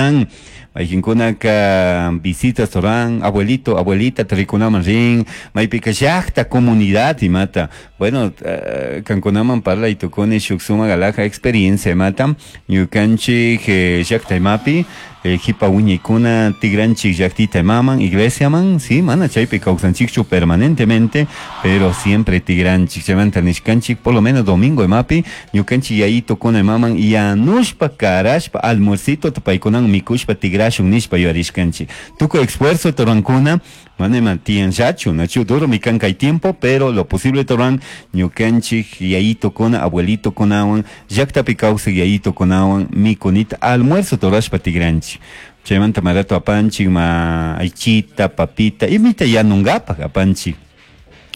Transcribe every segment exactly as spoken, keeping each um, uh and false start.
Kawsan mayqinkunaka visitas ruran abuelito abuelita rikunaman rin maypika llaqta comunidad imata bueno uh, kankunaman parlay tukuni shuk sumak alhaja experiencia imata ñukanchik eh, llaqta imapi eh, jipa wiñaykuna tigranchik llaqtita imaman iglesiaman sí mana chaypi kawsanchikchu permanentemente pero siempre tigranchik chaymanta nishkanchik por lo menos domingo imapi ñukanchik yayitokuna imaman yanushpa karashpa almuercito paykunawan mikushpa tigrashun nishpa yuyarishkanchik tukuy esfuerzo rurankuna mana ima tiyanllachu nachu duro mi kan kay tiempo pero lo posible ruran ñukanchik yayitokuna abuelitokunawan llaqtapi kawsaq yayitokunawan mikunita almuerzo rurashpa tigranchik chaymanta marato apanchik ma aychita papita imita yanunkapak apanchik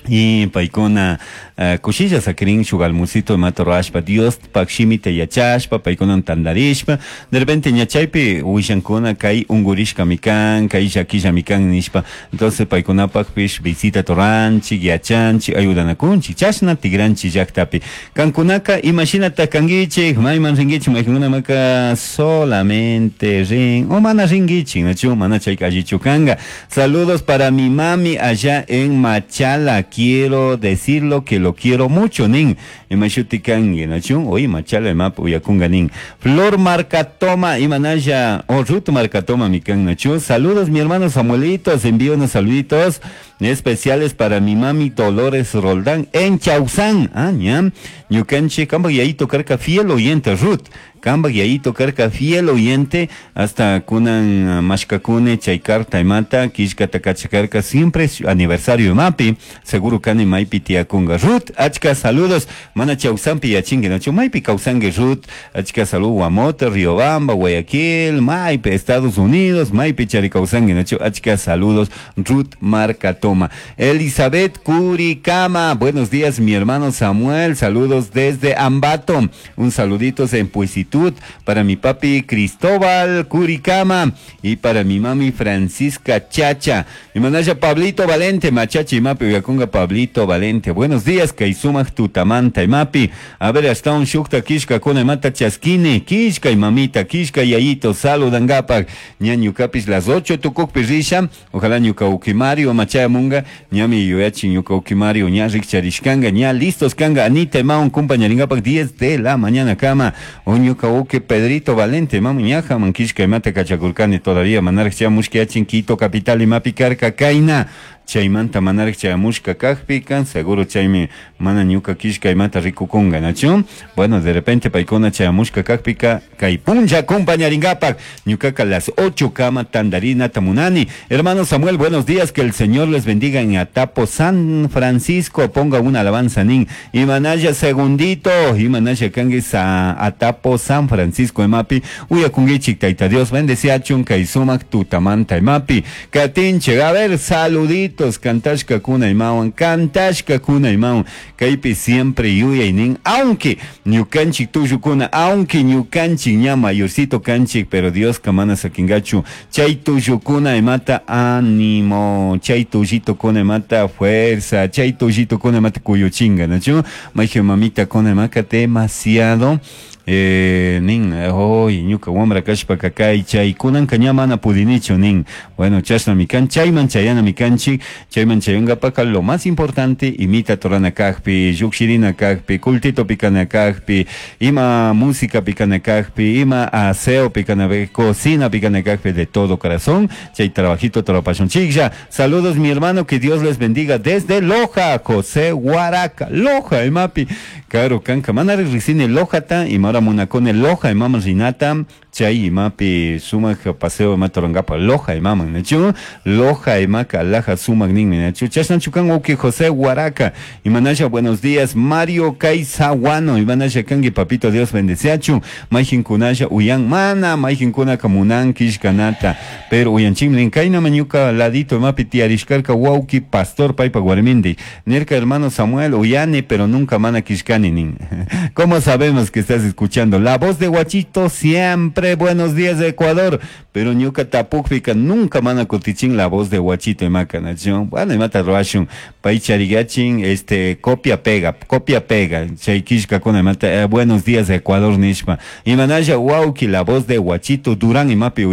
y paykuna uh, kushilla sakirin shuk almuercito imata rurashpa Diospak shimita yachashpa paykunawan tantarishpa de repente ña chaypi willankuna kay unkurishkami kan kay llakillami kan nishpa entonces paykunapakpish visita ruranchik yachanchik ayudanakunchik chashna tigranchik llaqtapi kankunaka imashinata kankichik mayman rinkichik maykunamaka solamente rin o mana rinkichik nachu mana chayka allichu kanka. Saludos para mi mami allá en Machala, quiero decirlo que lo quiero mucho nin imashuti kanki nachu oy Machala imapa uyakunga nin Flor Marcatoma imanalla o Ruth Marcatoma mi kan nachu. Saludos, mi hermano Samuelito, envío unos saluditos especiales para mi mami Dolores Roldán en Chausán. Ah, ña ñukanchik kampak yayito karka fiel oyente Ruth, kampak yayito karka fiel oyente hasta kunan mashkakuni chay carta imata killkata kachakarka siempre aniversario imapi seguro kani maypi tiyakunga Ruth, achka saludos. Mana Chausanpi yachinki nachu maypi kawsanki Ruth. Achka salud Guamote, Riobamba, Guayaquil, maypi Estados Unidos, maypi chari kawsanki nachu. Achka saludos, Ruth Marcatoma. Elizabeth Curicama, buenos días, mi hermano Samuel, saludos desde Ambato, un saludito en Puisitud para mi papi Cristóbal Curicama y para mi mami Francisca Chacha. Mi manaya Pablito Valente, machachi mapi uyakunga Pablito Valente. Buenos días, kay sumak tutamanta imapi. A ver, hasta un shukta kishka kuna mata chaskini, kishka y mamita, kishka yayito, saludangapak. Ña ñukapis las ocho tukukpi risha, ojalá ñuka uki Mario machayamunga, ñami yuyachi ñuka uki Mario, ña rikcharishkanga, ña listos kanga, Anita imawan kumpañaringapak diez de la mañana kama. O ñuka uki Pedrito Valente, mamu ñaja man kishka imata kachakurkani todavía, manaraj chamushka Quito capital imapi karka kayna. Chaymanta manaraj chayamushka kajpika seguro chaymi mana ñuka kishka imata rikukunga nachu. Bueno, de repente paykuna chayamushka kajpika kay punlla kumpañaringapak ñukaka las ocho kama tandarinata munani. Hermano Samuel, buenos días, que el Señor les bendiga en Atapo San Francisco, ponga una alabanza nin imanaya segundito imanaya kanki sa Atapo San Francisco imapi uyakunkichik tayta Dios bendeciachun kay sumak tutamanta imapi katinchik. A ver, saluditos kantashka kuna imawan, kantashka kuna imawan kaypi siempre yuyaynin aunque ñukanchik tullukuna aunque ñukanchik ña mayorcito kanchik pero Dios mana sakingachu chay tullukuna imata ánimo chay tullito kuna imata fuerza chay tullito kuna imata kuyuchinga nachu mayqin mamita kuna imaka demasiado eh, nin hoy ñuka wamra kashpaka kay chay kunanka ña mana pudinichu nin. Bueno, chashnami kan chayman chayanami kanchik chayman chayankapaka lo más importante imita rurana kajpi llukshirina kajpi kultitopi kana kajpi ima música kana kajpi ima aseo kana cocina kana kajpi de todo corazón chay trabajito rurapashunchiklla. Saludos, mi hermano, que Dios les bendiga desde Loja, José Huaraca, Loja imapi karo kanka mana riqsini Lojata imara munakuni Loja imaman rinata chay imapi sumak paseo imata rurankapa Loja imaman nachu Loja imaka alhaja sumak ninmi nachu chashnachu kan uki José Huaraca. Imanasha buenos días Mario Kaisaguano imanasha kanki papito Dios bendeciachu mayqinkunalla uyan mana mayqinkunaka munan killkanata pero uyanchikmi kayna ñuka ladito imapi tiyarishkarka wawki pastor paypak warmindi nirka hermano Samuel uyani pero nunca mana killkani nin. ¿Cómo sabemos que estás escuchando? La voz de Guachito siempre buenos días de Ecuador, pero ñuka tapukpika nunca mana kutichin la voz de Guachito imaka nachu. Bueno, imata rurashun pay charigachin este copia pega copia pega chay killkakuna imata eh, buenos días de Ecuador nishpa imanalla wawki la voz de Guachito Durán imapi.